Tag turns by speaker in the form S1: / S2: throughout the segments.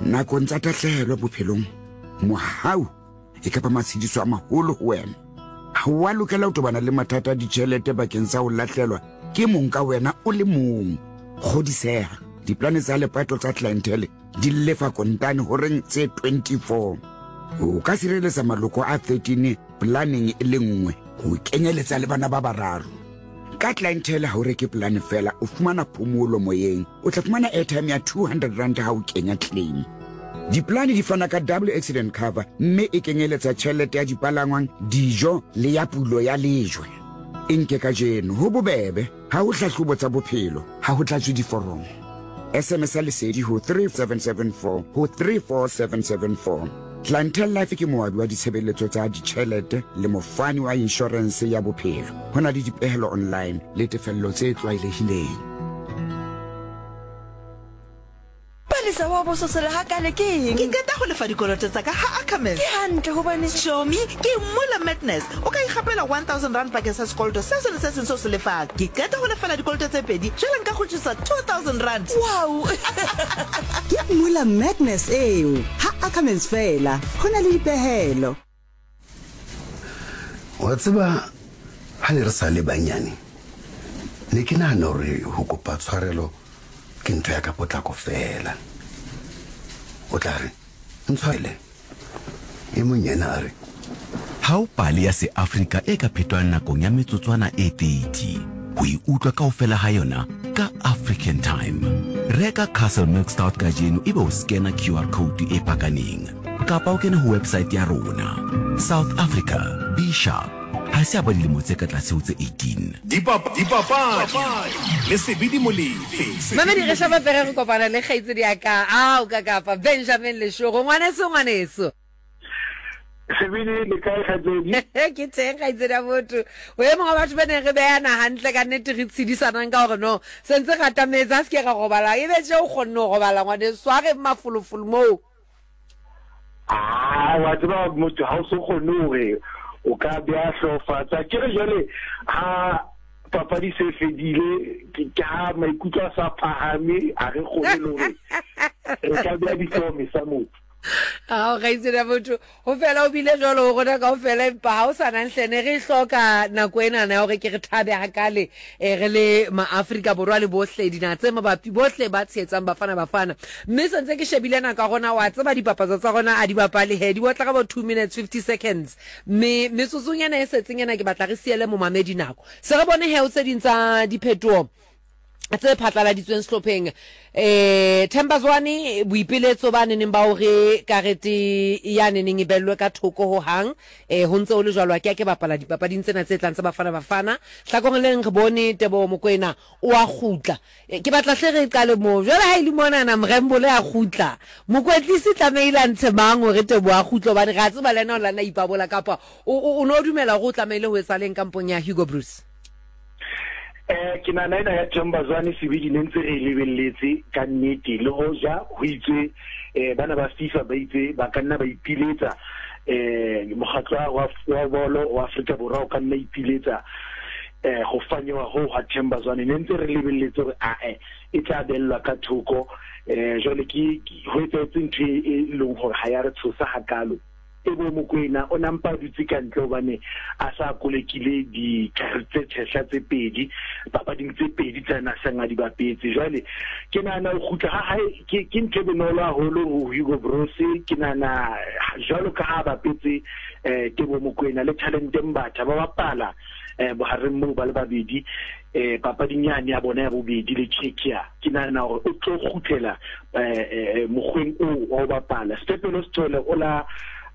S1: Nakong tsa tahlehelo bophelong, mohau e ka ba matshediso a maholo ho wena. Ha o a lokela ho tobana le mathata a ditjhelete bakeng sa ho lahlelwa ke mong ka wena o le mong. Kgodiseha, diplane tsa lepato tsa Clientele di lefa kontane horeng tse 24. O ka sireletsa maloko a 13 planeng e le nngwe, ho kenyeletsa le bana ba bararo. Ka Clientele ha o reke polane fela, o fumana phomolo moyeng. O tla fumana airtime ya 200 rand ha o kenya claim. Dipolane di fana ka double accident cover mme e kenyeletsa tjhelete ya dipalangwang, dijo le ya pulo ya lejwe. E nke kajeno, ho bobebe, ha ho hlahlobo tsa bophelo, ha ho tlatswe diforomo. SMS ya Lesedi ho 3774 ho 34774. Clientele Life ke moabi wa ditshebeletso tsa ditjhelete le mofani wa inshorense ya bophelo. Ho na le dipehelo online le tefello tse tlwaelehileng.
S2: Palesa wa bososela hakale ke eng?
S3: Ke qeta go lefa dikoloto tsa ka ha Ackermans.
S2: Ke hantle hobane.
S3: Chomi, ke Mula Madness. O ka ikgapela 1000 rand bakeng sa sekoloto se seng le se seng se o se lefang. Ke qeta go lefela dikoloto tse pedi, jwale nka kgutlisa 2000 rand.
S2: Wow!
S4: Ke Mula Madness eo. Ha Ackermans fela. Ho na le dipehelo.
S5: Wa tseba, ha ne re sa le banyane, ne ke nahana hore ho kopa tshwarelo ke ntho ya ka potlako feela. O tla re, Ntshwarele. E mong yena a re.
S6: Ha ho pale ya Seafrika e ka phetwang nakong ya metsotswana e 30. Ho e utlwa kaofela ha yona ka African Time. Reka Castle Milk Stout kajeno ebe o skena QR code e pakaneng. Kapa o kene ho website ya rona. South Africa, be sharp. Ha se a ba dilemo tse ka tlase ho tse 18.
S7: Dipapadi le Sebidi Molefe.
S8: Mamedi re shapa pere re kopana le kgaitsedi ya ka ao ka kapa Benjamin Leshoro ngwaneso ngwaneso.
S9: Sebidi le kae kgaitsedi?
S8: Ke teng kgaitsedi ya botho. O e mong wa batho ba neng re beyana hantle ka nnete re tshedisanang ka hore no sentse re atametse ha se ke ra robala ebe tje o kgonne ho robala ngwaneso a re mafolofolo moo.
S9: Ah, wa tseba motho ha o so kgone hore o ka beha hlooho fatshe. Akere jwale ha papadi se fedile ke ha maikutlo a sa phahame a re kgone le hore re ka beha dihlooho mesa motho.
S8: Ao kgaitsedi ya motho ho fela o bile jwalo ho rona kaofela empa ha o sa nang hle ne re hloka nako enana ya hore ke re thabe hakale eh, re le maafrika borwa le bohle dinaha tse mabapi bohle ba tshehetsang bafana bafana mme sentse ke shebile nako ya rona wa tseba dipapatso tsa rona a di bapale he di otla ka bo 2 minutes 50 seconds mme metsotsong ena e setseng ena ke batla re siele momamedi nako se re bone he o tse ding tsa diphetoho tse phatlaladitsweng sehlopheng eh Themba Zwane boipeletso ba neneng ba hore karete ya neneng e bellwe ka thoko ho hang eh ho ntse ho le jwalo a ke a ke bapala dipapading tsena tse tlang tsa Bafana Bafana hlakoreng le leng re bone Teboho Mokoena o a kgutla eh, ke batla hle re qale moo jwale ha e le monana Mrembole a kgutla mokwetlisi tlamehile a ntshe mang hore Teboho a kgutle hobane re a tseba le yena o lana ipabola kapa o no dumela hore o tlamehile ho etsahaleng kampong ya Hugo Broos
S9: Eh, ke nahana ena ya Themba Zwane sebedi ne ntse re e lebelletse ka nnete le hoja ho itswe eh, bana ba FIFA ba itse ba ka nna ba ipiletsa eh, mokgatlo wa, wa bolo wa Afrika Borwa o ka nna ipiletsa eh, go fanyewa ho ga Themba Zwane ne ntse re lebelletse gore ae e tla bellwa ka thoko eh, jwale ke ho etsahetse ntho e, e leng gore ga ya re tshosa hakalo Teboho Mokoena o ne a mpa a dutse ka ntle hobane a sa kolekile dikarete tse tshehla tse pedi papading tse pedi tsa na seng a di bapetse. Jwale ke nahana ho kgutla ha hae ke ke ntho e bonolo haholo ho Hugo Broos. Ke nahana jwalo ka ha a bapetse eh, Teboho Mokoena le Thalente Mbatha ba bapala eh, bohareng moo ba le babedi eh, papading yane ya bona ya bobedi le Czechia. Ke nahana hore o tlo kgutlela eh, eh, mokgweng oo wa ho bapala. Sphephelo Sithole o la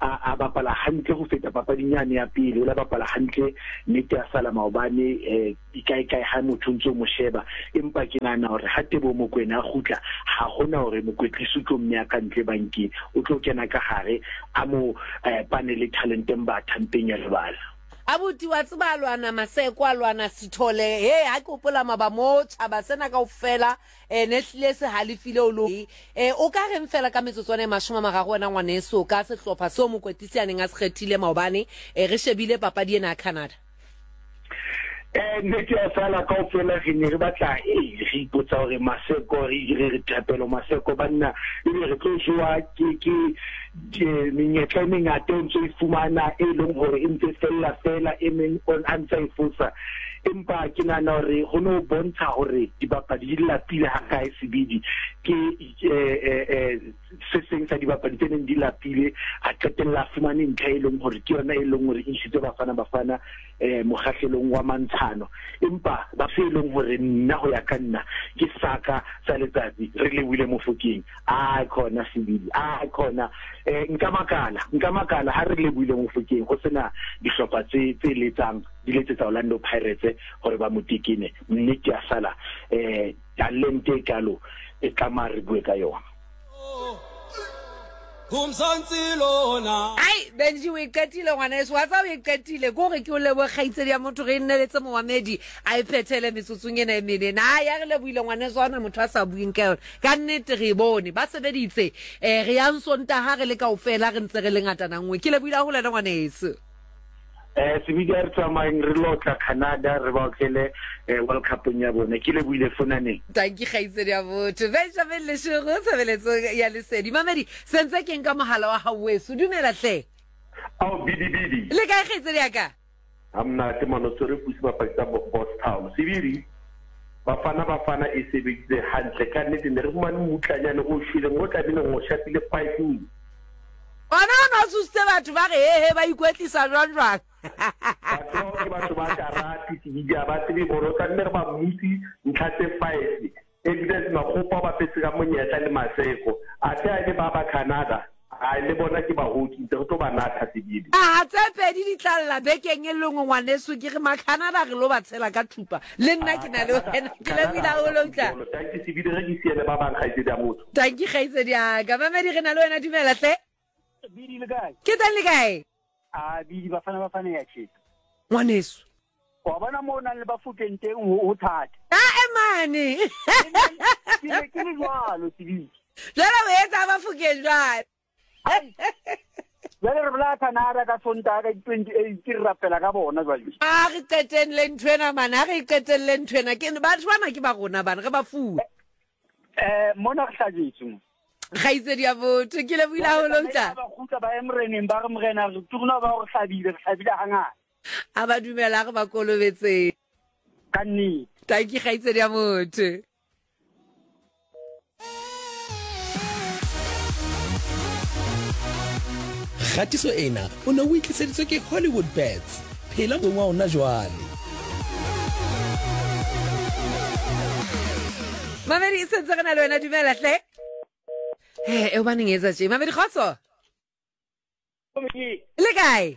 S9: a, a bapala hantle ho feta papading yane ya pele, o la bapala hantle nnete ya sala maobane eh, kae-kae ha motho ntse o mo sheba. Empa ke nahana hore ha Teboho Mokoena a kgutla, ha hona hore mokwetlisi o tlo mmeya ka ntle bankeng, o tlo kena ka hare a mo eh, pane le Talente Mbatha mpeng ya lebala.
S8: Abuti wa tseba a lwana Maseko a lwana Sithole he ha ke hopola maba mo tjhaba sena kaofela eh ne hlile se halefile o lo eh o ka reng fela ka metsotswana e 30 wena ngwaneso ka sehlopha seo mokwetlisi a neng a se kgethile maobane eh re shebile papadi ena ya Canada.
S9: Eh, nnete ya sala kaofela re ne re batla ee re ipotsa hore Maseko re re re Thapelo Maseko banna ebe re tlo jowa ke ke ke menyetla e mengata o ntso e fumana e leng hore e ntse fella fela e meng on a ntse e fosa empa ke nahana hore ho no bontsha hore dibapadi di lapile ha kae sebidi ke eh, eh, eh, se seng sa dibapadi tse neng di lapile a qetella a fumane ntlha e leng hore ke yona e leng hore e isitse Bafana Bafana eh mokgahlelong wa mantshano empa ba se e leng hore nna ho ya ka nna ke saka sa letsatsi re lebohile Mofokeng a khona sebidi a khona eh nka makala nka makala ha re lebohile Mofokeng ho sena dihlopha tse tse letsang di letsetsa Orlando Pirates hore ba mo tekene mme ke a sala eh talente e kalo e tlameha re bue ka yona.
S8: Ai, Benji o e qetile ngwaneso, wa tseba o e qetile. Ke gore ke o lebohe kgaitsedi ya motho re nneletse momamedi a e phethele metsotsong ena e mene. Na ya re lebohile ngwaneso ha ona motho a sa bueng ka yona. Ka nnete re e bone ba sebeditse. Eh re yang Sontaha re le kaofela re ntse re le ngatana nngwe. Ke lebohile haholo wena ngwaneso.
S9: Eh sebidi a re tsamayeng re lo tla Canada re ba otlele eh, World Cupong ya bone. Ke lebohile fonaneng.
S8: Tanki kgaitsedi ya botho. Benjamin Leshego tshebeletsong ya Lesedi. Mamedi, sentse ke nka mohala wa hao weso. Dumela hle.
S10: Ao bidi bidi.
S8: Le kae kgaitsedi ya ka?
S10: Ha monate mano tshwere pusi bapadi tsa Bosstown. Sebidi Bafana Bafana e sebeditse hantle ka nnete ne re fumane mmutlanyane o shweleng o tlabileng o shapile 5
S8: Ona o ne o tshositse batho ba re hehe ba ikwetlisa jwang jwang.
S10: Batho bao ke batho ba karate sebidi ha ba tsebe bolo tlamehile re ba mmutse ntlha tse five Evidence Makgopa o bapetse ka monyetla le Maseko athe ha e le ba ba Canada hai le bona ke bahoki ntse re tlo ba natha sebidi.
S8: Aha tse pedi di tla lla bekeng e lengwe ngwaneso ke re macanada re lo ba tshela ka thupa le nna ke na le wena ke lebohile haholo utla.
S10: Tanki sebidi re ke siele ba bang kgaitsedi ya motho.
S8: Tanki kgaitsedi ya ka. Mamedi re na le wena dumela hle.
S11: Bidi le kae?
S8: Ke teng le kae?
S11: A bidi bafana bafana ya tjhesa.
S8: Ngwaneso.
S11: Wa bona mo o nang le bafokeng teng ho thata.
S8: A emane.
S11: Ke ne ke le jwalo sebidi.
S8: Jwale o etsa bafokeng jwale.
S11: Jwale re bolaya Canada ka Sontaha ka di-28 re rapela ka bona jwale.
S8: A re qetelle ntho ena mane, a re qetelle ntho ena. Ke batho bana ke ba rona bana, re ba fuwe.
S11: Eh mona re hlajetswe mo.
S8: Kgaitsedi ya botho, ke lebohile haholo utla.
S11: Ba kgutla ba ye moreneng ba re morena re turna ba re hlabile, re hlabile hangata.
S8: A ba dumela re ba kolobetseng.
S11: Ka nnete.
S8: Tanki kgaitsedi ya motho.
S12: Kgatiso ena o ne o e tliseditswe ke Hollywood Bets. Phela motsong wa ona jwale.
S8: Mamedi e sentse re na le wena dumela hle. He, e hobaneng e etsa tje? Mamedi kgotso. Le kae?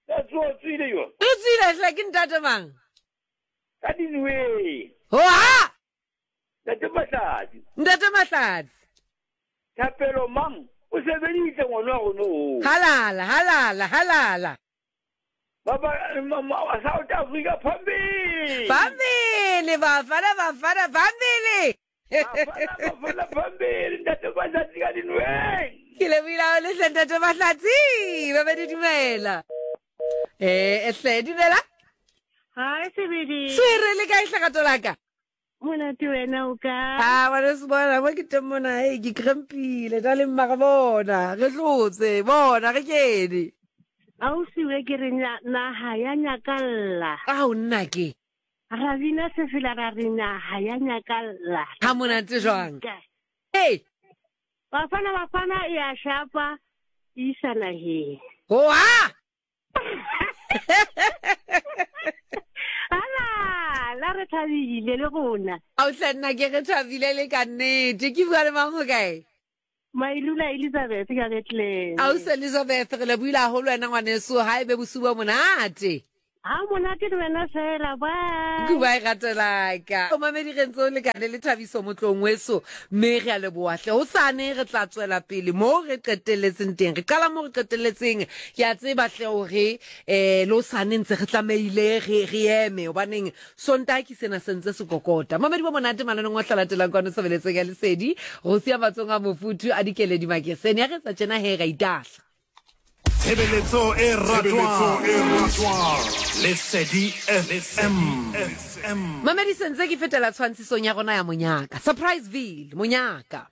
S8: Re tswile hle ke ntate mang?
S13: Ka dinweng.
S8: Hoa!
S13: Ntate Mahlatsi.
S8: Ntate Mahlatsi.
S13: Thapelo mang o sebeditse ngwana wa rona o.
S8: Halala, halala, halala.
S13: Baba South Africa phambili.
S8: Phambili bafana bafana phambili.
S13: Bafana bafana phambili ntate Mahlatsi ka dinweng.
S8: Ke lebohile haholo hle ntate Mahlatsi. Ba be di dumela. Eh, hle dumela.
S14: Hi Sebedi.
S8: Swere le kae hlagato la ka?
S14: Monate wena o ka?
S8: Ah, ngwane se bona mo ke teng mona, hey, ke crampile, ta le mma bona, re hlotse, bona re kene.
S14: Ausi we ke re naha ya nyakalla.
S8: Ao nna ke.
S14: Ra bina sefela ra re naha ya nyakalla.
S8: Ha monate jwang? Hey.
S14: Bafana bafana e a shapa e isa naheng.
S8: Hoa!
S14: Ala, la re thabile le rona.
S8: Ao hle nna ke re thabile le ka nnete. Ke bua le mang ho kae?
S14: Mailula Elizabeth ka Bethlehem.
S8: Ausi Elizabeth, re lebohile haholo wena ngwaneso, ha e be bosiu bo monate.
S14: Ha monate le wena fela, bye.
S8: Goodbye rato la ka. O mamedi re ntse o lekane le Thabiso Motlong weso, mme re a leboha hle. Hosane re tla tswela pele moo re qetelletseng teng. Re qala moo re qetelletseng. Ke a tseba hle hore eh le hosane ntse re tlamehile re re eme hobaneng Sontaha ke sena se ntse se kokota. Mamedi bo monate mananeng o hlala kwano tshebeletsong ya Lesedi. Go sia matsong a mofuthu a dikeledi makesene. Ya re etsa tjena he ra itahla.
S7: Tshebeletso e ratwang. Lesedi FM.
S8: Mamedi sentse ke fetela tshwantshisong ya rona ya monyaka. Surpriseville, monyaka.